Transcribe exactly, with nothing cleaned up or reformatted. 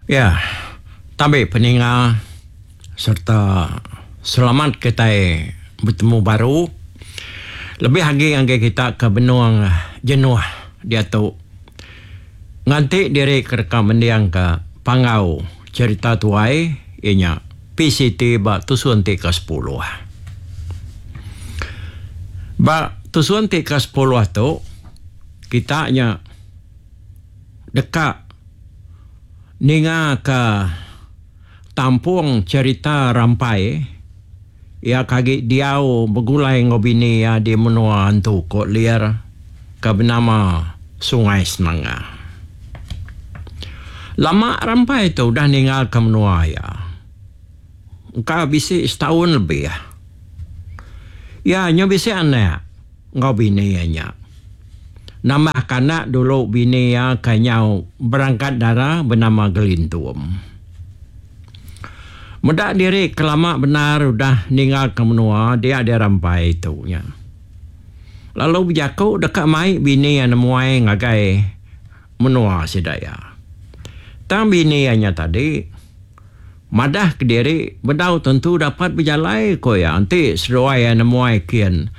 Ya, tabi peninga serta selamat kitai betemu baru lebih agi ngagai kita ke benung jenuh diatu nganti diri ke deka mendingka panggau cherita tuai iya nya P C T ba tusun ti ke sepuluh. Ba tusun ti ke sepuluh tu kita nya deka ninga ka tampung cherita Rampai iya ke agi diau begulai enggau bini iya di menua Antu Kok Lir ke benama Sungai Senanga. Lama Rampai tu udah ninggalka menua iya. Engka bisi setaun lebih. Iya nyau bisi anak enggau bini iya nya. Nambahka anak dulu bini iya ke nyau berangkat dara benama Gelintum. Meda diri ke lama bendar udah ninggalka menua dia deh Rampai tu nya. Lalu bejaku deka mai bini iya nemuai ngagai menua sida iya. Tang bini iya nya tadi madah kediri bedau tentu dapat bejalai ku iya enti seduai iya nemuai kin.